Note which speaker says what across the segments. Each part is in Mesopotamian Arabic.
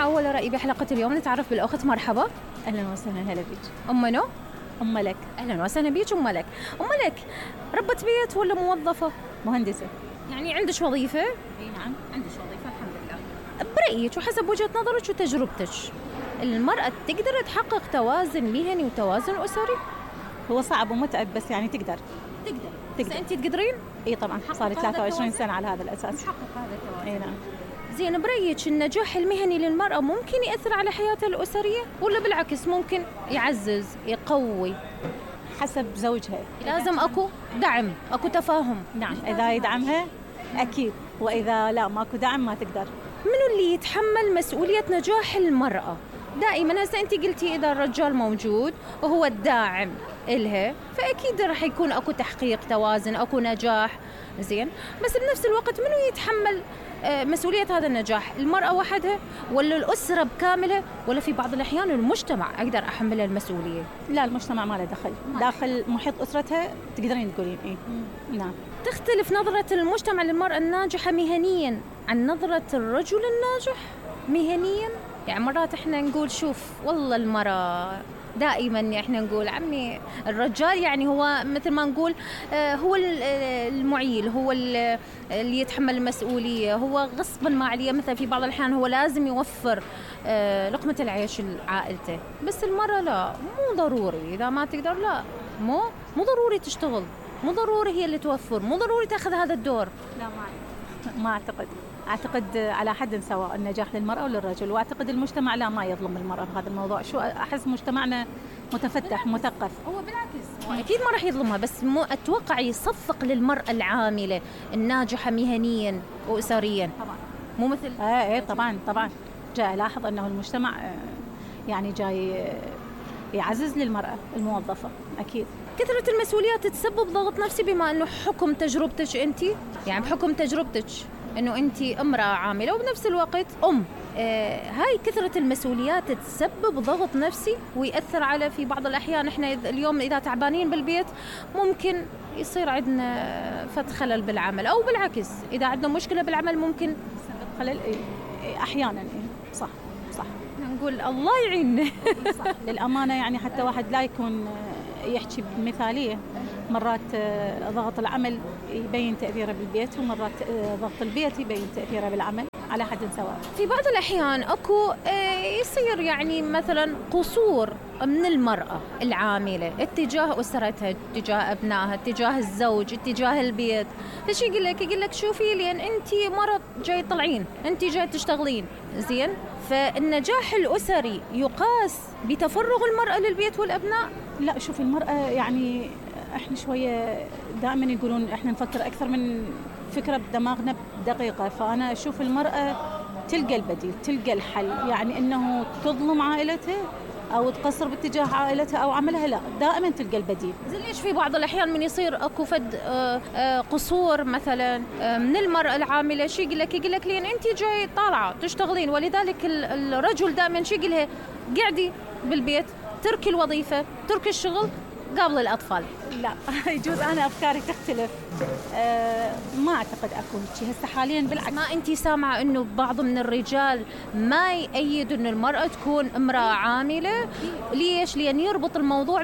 Speaker 1: أول رأيي بحلقة اليوم نتعرف بالأخت. مرحبا.
Speaker 2: أهلا وسهلا. هلا بيك.
Speaker 1: أم منو؟
Speaker 2: أم ملك.
Speaker 1: أهلا وسهلا بيك أم ملك. أم ملك، ربة بيت ولا موظفة؟
Speaker 2: مهندسة.
Speaker 1: يعني عندش وظيفة؟
Speaker 2: اي نعم عندش وظيفة الحمد لله.
Speaker 1: برأيك وحسب وجهة نظرك وتجربتك، المرأة تقدر تحقق توازن مهني وتوازن أسري؟
Speaker 2: هو صعب ومتعب بس يعني تقدر.
Speaker 1: بس أنت تقدرين؟
Speaker 2: اي طبعا، صار 23 سنة على هذا الأساس.
Speaker 1: تحقق هذا التوازن.
Speaker 2: اي نعم.
Speaker 1: زين، برأيك النجاح المهني للمرأة ممكن يأثر على حياتها الأسرية ولا بالعكس ممكن يعزز يقوي؟
Speaker 2: حسب زوجها.
Speaker 1: لازم أكو دعم، أكو تفاهم.
Speaker 2: نعم، إذا يدعمها أكيد، وإذا لا ماكو دعم ما تقدر.
Speaker 1: منو اللي يتحمل مسؤولية نجاح المرأة؟ دائما هسه أنت قلتي إذا الرجال موجود وهو الداعم إلها فأكيد رح يكون أكو تحقيق توازن، أكو نجاح. زين، بس بنفس الوقت منو يتحمل مسؤولية هذا النجاح؟ المرأة وحدها ولا الأسرة بكاملها ولا في بعض الأحيان المجتمع أقدر أحملها المسؤولية؟
Speaker 2: لا، المجتمع ما له دخل. داخل محيط أسرتها تقدرين تقولين إيه. نعم.
Speaker 1: تختلف نظرة المجتمع للمرأة الناجحة مهنيا عن نظرة الرجل الناجح مهنيا. يعني مرات احنا نقول شوف والله المرأة دائما احنا نقول عمي الرجال يعني هو مثل ما نقول هو المعيل، هو اللي يتحمل المسؤولية، هو غصبا ما عليه. مثلا في بعض الأحيان هو لازم يوفر لقمة العيش لعائلته، بس المرأة لا، مو ضروري. إذا ما تقدر لا، مو ضروري تشتغل، مو ضروري هي اللي توفر، مو ضروري تأخذ هذا الدور.
Speaker 2: لا ما أعتقد على حد سواء النجاح للمرأة وللرجل، وأعتقد المجتمع لا ما يظلم المرأة بهذا الموضوع. شو أحس مجتمعنا متفتح مثقف.
Speaker 1: هو بالعكس أكيد ما راح يظلمها، بس مو أتوقع يصفق للمرأة العاملة الناجحة مهنيا وأسريا.
Speaker 2: طبعا
Speaker 1: مو مثل
Speaker 2: إيه طبعا جاء ألاحظ أنه المجتمع يعني جاي يعزز للمرأة الموظفة. أكيد
Speaker 1: كثرة المسؤوليات تسبب ضغط نفسي، بما أنه حكم تجربتك أنت، يعني بحكم تجربتك أنه أنت امرأة عاملة وبنفس الوقت هاي كثرة المسؤوليات تسبب ضغط نفسي ويأثر على في بعض الأحيان. إحنا اليوم إذا تعبانين بالبيت ممكن يصير عندنا خلل بالعمل، أو بالعكس إذا عندنا مشكلة بالعمل ممكن
Speaker 2: خلل أحيانا. صح
Speaker 1: نقول الله يعيننا.
Speaker 2: صح للأمانة، يعني حتى واحد لا يكون يحكي بمثالية. مرات ضغط العمل يبين تأثيره بالبيت، ومرات ضغط البيت يبين تأثيره بالعمل، على حد سواء.
Speaker 1: في بعض الأحيان أكو يصير يعني مثلا قصور من المرأة العاملة اتجاه أسرتها، اتجاه أبنائها، اتجاه الزوج، اتجاه البيت. فشي يقول لك شوفي لأن أنت مرة جاي طلعين، أنت جاي تشتغلين. زين، فالنجاح الأسري يقاس بتفرغ المرأة للبيت والأبناء؟
Speaker 2: لا، شوفي المرأة يعني احنا شوية دائما يقولون احنا نفكر أكثر من فكرة بدماغنا بدقيقة. فأنا أشوف المرأة تلقى البديل، تلقى الحل. يعني إنه تظلم عائلتها أو تقصر باتجاه عائلتها أو عملها، لا، دائما تلقى البديل.
Speaker 1: زي ليش في بعض الأحيان من يصير أكو فد قصور مثلا من المرأة العاملة، شي يقول لك لين أنت جاي طالعة تشتغلين، ولذلك الرجل دائما شي يقول لها قعدي بالبيت، تركي الوظيفة، تركي الشغل قبل الأطفال.
Speaker 2: لا يجوز أنا أفكاري تختلف. ما أعتقد أكون شيء هسه حاليا. بالعكس،
Speaker 1: ما أنتي سامعة إنه بعض من الرجال ما يأيد إنه المرأة تكون امرأة عاملة؟ ليش؟ لأن يربط الموضوع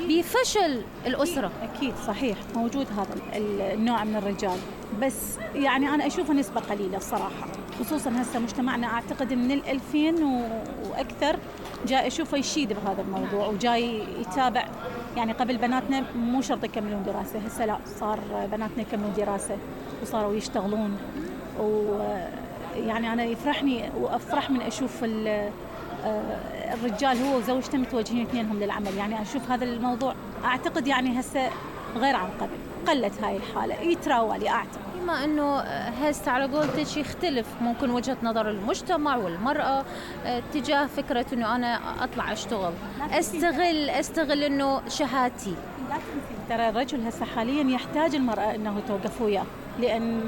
Speaker 1: بفشل الأسرة.
Speaker 2: أكيد صحيح موجود هذا النوع من الرجال، بس يعني أنا أشوفه نسبة قليلة الصراحة. خصوصا هسه مجتمعنا أعتقد من 2000 وأكثر جاي أشوفه يشيد بهذا الموضوع وجاي يتابع. يعني قبل بناتنا مو شرط يكملون دراسة، هسه لا، صار بناتنا يكملون دراسة وصاروا يشتغلون. ويعني أنا يفرحني وأفرح من أشوف الرجال هو وزوجته متوجهين اثنينهم للعمل. يعني أشوف هذا الموضوع أعتقد يعني هسه غير عن قبل، قلت هاي الحالة، يتراولي أعتقد.
Speaker 1: بما أنه هسه على قولتك يختلف ممكن وجهة نظر المجتمع والمرأة تجاه فكرة أنه أنا أطلع أشتغل، أستغل أنه شهادتي.
Speaker 2: ترى الرجل هسه حاليا يحتاج المرأة أنه توقف وياه، لأن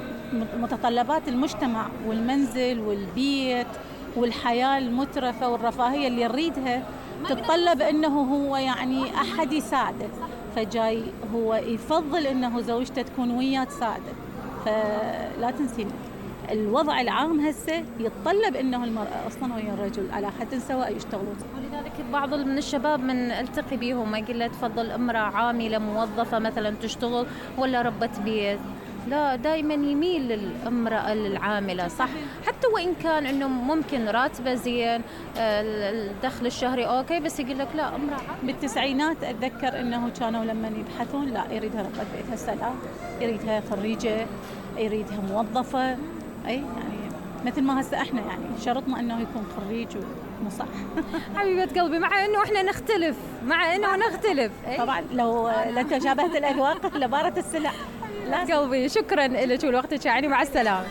Speaker 2: متطلبات المجتمع والمنزل والبيت والحياة المترفة والرفاهية اللي يريدها تتطلب أنه هو يعني أحد يساعده. فجاي هو يفضل أنه زوجته تكون وياه تساعده. فلا تنسين الوضع العام هسه يتطلب انه المرأة اصلا ويا الرجل على حد سواء يشتغلون.
Speaker 1: ولذلك بعض من الشباب من التقي بيهم ما يقول له تفضل امرأة عاملة موظفة مثلا تشتغل ولا ربة بيت، لا دائما يميل للامرأة العاملة صح، حتى وإن كان إنه ممكن راتبه زين الدخل الشهري أوكي، بس يقول لك لا امرأة عاملة.
Speaker 2: بالتسعينات أتذكر إنه كانوا لما يبحثون لا يريدها ربة بيت، هسه لا يريدها خريجة، يريدها موظفة، أي يعني مثل ما هسه إحنا يعني شرطنا إنه يكون خريج مو صح.
Speaker 1: حبيبة قلبي، مع إنه إحنا نختلف، مع إنه نختلف
Speaker 2: طبعا لو تشابهت الأذواق لبارت السلع.
Speaker 1: قلبي شكرا لك ولوقتك، يعني مع السلامة.